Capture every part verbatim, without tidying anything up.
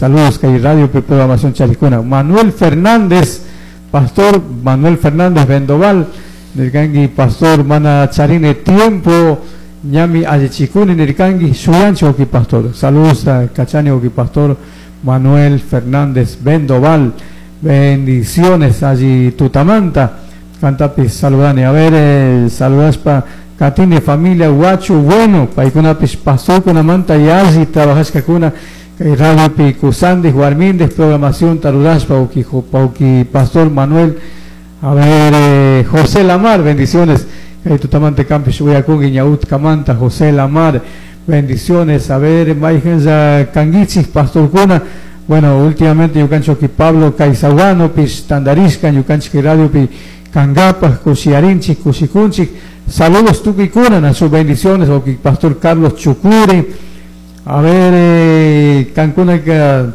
Saludos kay radio programación charikuna. Manuel Fernández, pastor Manuel Fernández Vendoval, nirkanki pastor mana charine tiempo ñami allichikuni nirkanki shuyanchi wawki pastor. Saludos a Cachani wawki pastor Manuel Fernández Vendoval. Bendiciones allí tutamanta. Cantapis saludani. A ver, eh, saludaspa katini familia guacho bueno, paykunapis pastor kunamanta yalli trabajashkakuna kay radiopi kusandis warmindis programación tarurashpa wawki wawki pastor Manuel. A ver, eh, José Lamar, bendiciones. Kay tutamanta kampis uyakunki ñautkamanta José Lamar, bendiciones. A ver, mayqanlla kankichik pastorkuna. Bueno, últimamente ñukanchik Pablo Caizaguanopis tandarishka ñukanchik radiopi kangapak kushiyarinchik kushikunchik. Saludos tukuykuna, a sus bendiciones, wawki pastor Carlos Chucuri. A ver, eh, kankunaka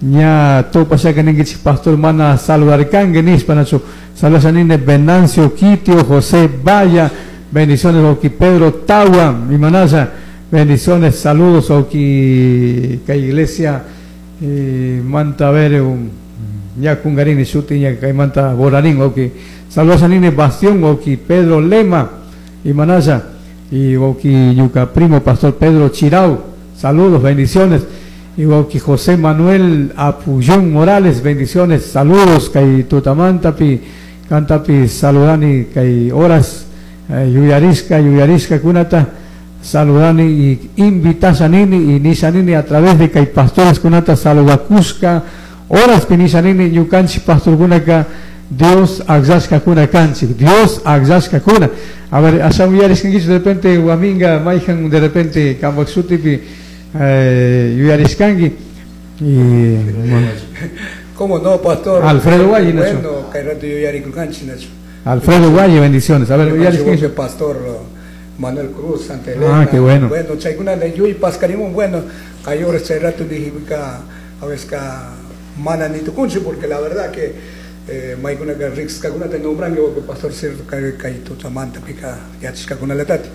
ña tupashaka ninkichik pastor mana saludarkanki nishpa nachu. Saludos a nini Venancio Quitio, José Valla, bendiciones wawki Pedro Tawa, mi manaya, bendiciones, saludos wawki kay iglesia eh, manta a ver un ña kungarini shuti ña kay manta borarín wawki. Saludos a nini Bastión wawki Pedro Lema y manaya y wawki ñuka primo pastor Pedro Chirau, saludos, bendiciones. Y wawki José Manuel Apullón Morales, bendiciones, saludos kay tutamantapi kantapi saludani kay horas eh, yuyarishka yuyarishka kunata saludani y invitashanini y nishanini a través de kay pastores kunata saludakushka horas pi nishanini ñukanchik pastorkunaka Dios akllashka kuna kanchik, Dios akllashka kuna. A ver, ashan yuyarishkankichu de repente waminga mayhan de repente kampak shutipi eh, yuyarishkanki y bueno. ¿Cómo no, pastor? Alfredo Valle, Nacho. Bueno, kay rato yuyarikurkanchik, Nacho. Alfredo Valle, bendiciones. A ver, Ñukanchik yuyarishkanki. pastor Manuel Cruz, Santa Elena. Ah, qué bueno. Bueno, chaykuna yuy paskarimun, bueno, kay horas chay rato dije ka a veces ka mana ni tukunchik, porque la verdad que eh, maykunaka riqsishkakunata nombranki wawqi pastor cierto kay kay tutamanta pika yachashkakunalatati.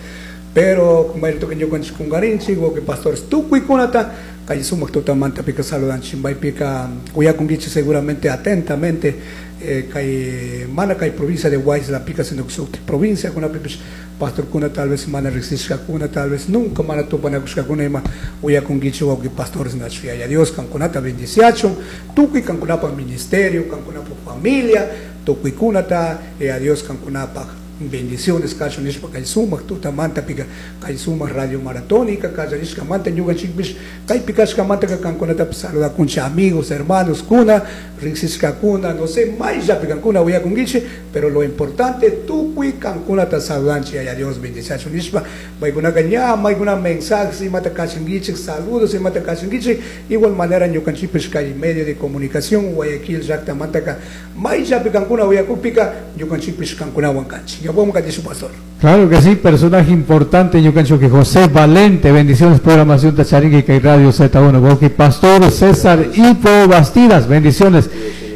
Pero maytuka ñukanchik kunkarinchik wawqi pastores tukuykunata kay sumaq tutamanta pika saludanchik maypika uyakunkichik seguramente atentamente eh, kay mana kay provincia de Huaylas pika sino que shuktik provincia kunapipish pastorkuna tal vez mana riqsishkakuna tal vez nunca mana tupanakushkakuna ima uyakunkichik wawqi pastores nachu yaya Dios kankunata bendiciachun tukuy kankunapaq ministerio kankunapaq familia tukuykunata eh, a Dios kankunapaq bendiciones kachun nishpa kay sumaq tutamanta pika kay sumaq radio maratónica kallarishkamanta ñukanchikpish kaypi kashkamanta kankunatapish saludakunchik amigos hermanos kuna riqsishkakuna no sé mayllapi kankuna uyakunkichik pero lo importante tukuy kankunata saludanchik yaya Dios bendiciachun nishpa paykunaka ña maykuna mensajes imata kachankichik saludos imata kachankichik igual manera ñukanchikpish kay medio de comunicación Guayaquil llaktamantaka mayllapi kankuna uyakupika ñukanchikpish kankunawan kanchik. Pastor. Claro que sí, personaje importante, ñukanchik que José Valente, bendiciones, programación Tacharingue y Radio Z uno, wawki Pastor César Hipo Bastidas, bendiciones,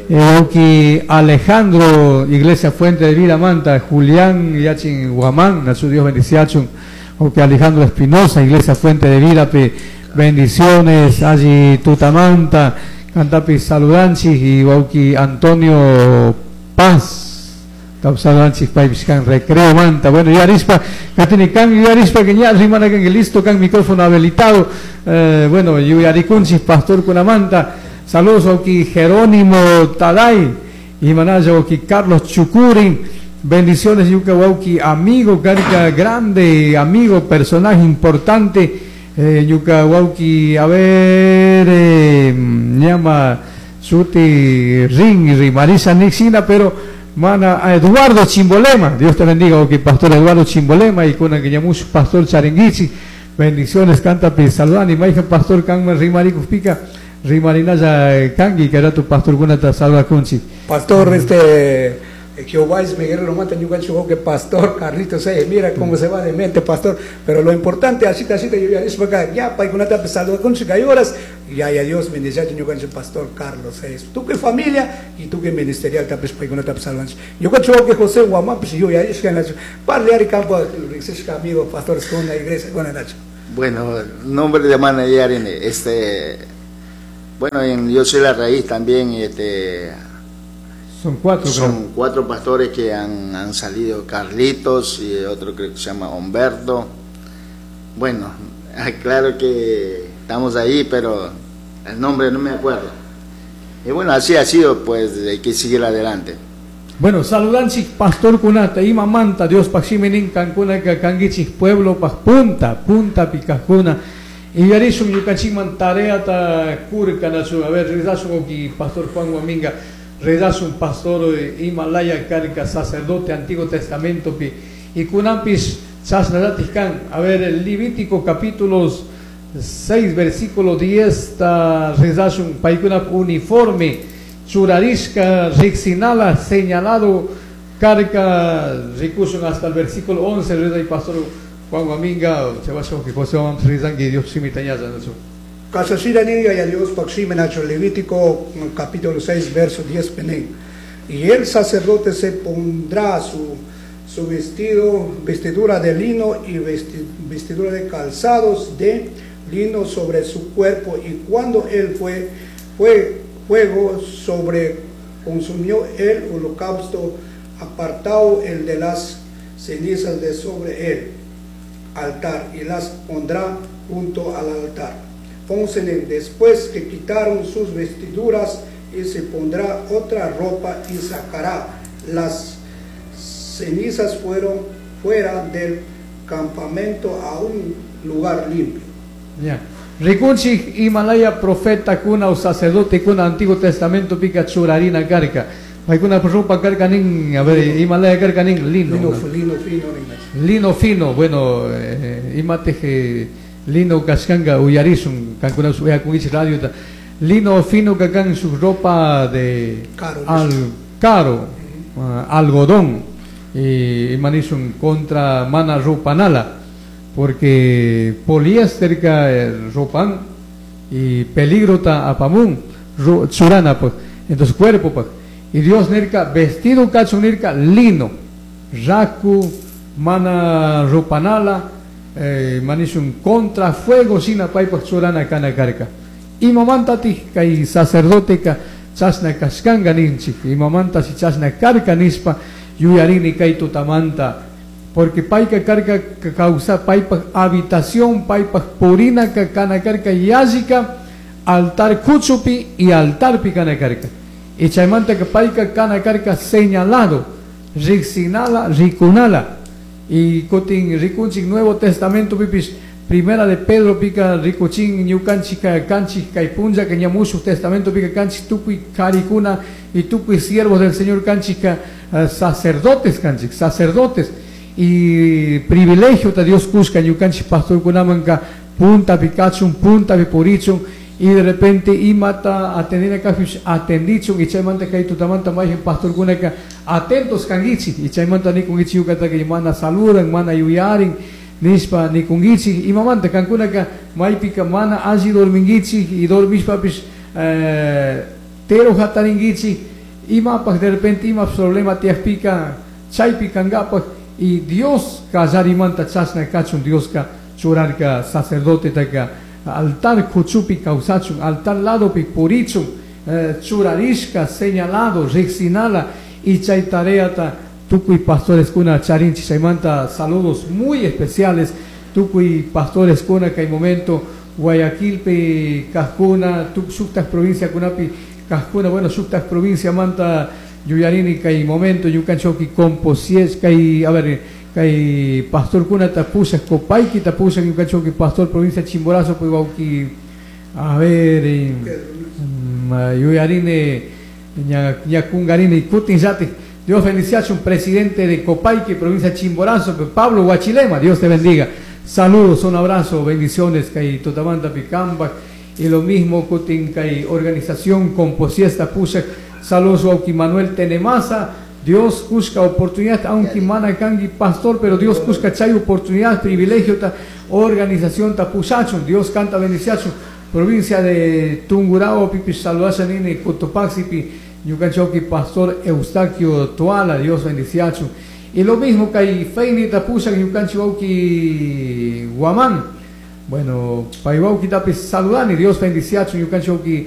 eh, Alejandro, Iglesia Fuente de Vida Manta, Julián Yachin Guamán, Nachu Dios bendiciachun, wawki Alejandro Espinosa, Iglesia Fuente de Vida, pe, bendiciones, allí Tutamanta, Cantapi Saludanchi y wawki Antonio Paz. Saludanchik paypish kan recreo manta. Bueno, yuyarispa, katini kan yuyarispa que ña rimana kan listo kan micrófono habilitado. Eh, bueno, yuyarikunchik pastor kunamanta. Saludos wawki Jerónimo Taday y manaya wawki Carlos Chucurin. Bendiciones yuka wawki amigo karka grande amigo personaje importante. Eh, yuka wawki a ver eh, llama shuti ring rimarisa nixina pero mana a Eduardo Chimbolema, Dios te bendiga, ok, pastor Eduardo Chimbolema y con que llamush pastor Charenguichi, bendiciones, canta pi saludani, maija pastor kanma rimariku pica, rimarinaya kangi, que era tu pastor kunata saluda kunchi. Pastor, este Jehová es mi guerrero, mata ñukanchik que pastor Carlitos, eh, mira cómo se va de mente, pastor, pero lo importante, así, así, yo ya dije, acá, ya, paykunata saluda kunchi, hay horas, ya, ya, Dios bendice, ñukanchik pastor Carlos, eh, tú que familia y tú que ministerial, tapes paykunata saludanchik. Ñukanchik que José Guamán, pues yo ya dije, parle ari campo, amigo, pastores con la iglesia, con la Nacho. Bueno, nombre de mana Yarine, este, Bueno, en Yo Soy la Raíz también, este, son cuatro, son creo. cuatro pastores que han, han salido, Carlitos y otro creo que se llama Humberto. Bueno, claro que estamos ahí, pero el nombre no me acuerdo. Y bueno, así ha sido, pues hay que seguir adelante. Bueno, saludanchik pastor kunata, ima manta, Dios paximinin kankuna kangichik pueblo pa punta, punta pikajkuna. Y yarishun ñukanchikman tareata kurkanachu, a ver, rezashun oki pastor Juan Guaminga, rezashun pastor Himalaya karka, sacerdote Antiguo Testamento pi, y kunampis chasnaratik kan, a ver, el Levítico capítulos seis, versículo diez, ta rezashun paykuna uniforme, churarishka, rixinala, señalado, carca, rikushun hasta el versículo once, reza y pastor Juan Guaminga, se va a que José vamos rezan que Dios simitañaza, ¿no? Casasira niña y a Dios paximenacho, Levítico capítulo seis, verso diez, penen. Y el sacerdote se pondrá su, su vestido, vestidura de lino y vesti, vestidura de calzados de lino sobre su cuerpo, y cuando él fue, fue fuego sobre consumió el holocausto, apartado el de las cenizas de sobre el altar, y las pondrá junto al altar. Pónsenle después que quitaron sus vestiduras, y se pondrá otra ropa y sacará las cenizas fueron fuera del campamento a un lugar limpio. Ya. Rikunchik Himalaya profeta kuna o sacerdote kuna Antiguo Testamento pica churarina carca. Paykuna ropa carca nin, a ver, Himalaya carca nin lino. Lino, lino fino, nin. Lino fino, bueno, eh, imateje lino kashkanga uyarisun, kankuna suyakunich radio ta. Lino fino kakan su ropa de caro, al caro, uh, algodón, y imanisun contra mana ropanala, porque poliéster ka ropan y peligro ta apamun ro, churana pues, entonces cuerpo pues. Y Dios nirka vestido cacho nirka lino raku mana ropanala, eh, manisun contra fuego sina paipa churana kana karka. Imamanta ti kay sacerdote ka chasna kashkanga ninchik, imamanta si chasna karka nispa yuyarini kay tutamanta, porque payka karka causa paypa habitación, paypa purina ka kana karka yallika altar kuchupi y altarpi kana karka. Y chaymanta que payka kana karka señalado, rixinala, rikunala. Y kutin rikunchik Nuevo Testamento pipis Primera de Pedro pica rikuchin ñukanchika kanchik kaypunlla que ñamushu Testamento pica kanchik tukuy karikuna y tukuy siervos del Señor kanchika, uh, sacerdotes kanchik, sacerdotes. Y privilegio ta Dios kushka ñukanchik pastor kunamanka punta pikachun, punta pipurichun, y de repente imata atendina kafish atendichun, y chaymanta kay tutamanta mayhin pastor kunaka atentos kangichi, y chaymanta nikungichi yukata que mana saludan, mana yuyarin nispa nikungichi, imamanta kankunaka maypika mana alli dormingichi y dormishpapis eh, tero hataringichi, imapaj de repente ima problema tiajpika chaypi kangapaj, y Dios kallarimanta chasna kachun, Dios ka churarka sacerdote taka altar kuchupi kausachun, altar ladopi purichun, eh, churarishka señalado, rixinala, y chay tareata tukuy pastores kuna charinchi chaymanta saludos muy especiales tukuy pastores kuna kay momento Guayaquilpi kajkuna, tuk shuktaj provincia kunapi kajkuna, bueno shuktaj provincia manta yuyarini kay momento ñukanchoki composies kay, a ver, kay pastor kuna tapushak Copayqui tapushak ñukanchoki pastor provincia Chimborazo pues wauki, a ver, eh, yuyarini ñakungarini kutin yati. Dios bendice a un presidente de Copayqui, provincia Chimborazo, Pablo Guachilema, Dios te bendiga. Saludos, un abrazo, bendiciones, kay Tutamanta Picamba, y lo mismo kutin kay organización Composiesta Pushak, saludos a Manuel Tenemasa, Dios busca oportunidad, aunque mana kangi pastor, pero Dios busca chay oportunidad, privilegio, ta organización tapushachun, Dios canta bendiciachun, provincia de Tungurahua, pipi saludacha nini, Cotopaxi, pi ñukanchoki pastor Eustaquio Tuala, Dios bendiciachun. Y lo mismo que hay Feini tapushak ñukanchoki Guamán, bueno, paiwauki tapis saludani, Dios bendiciachun, ñukanchoki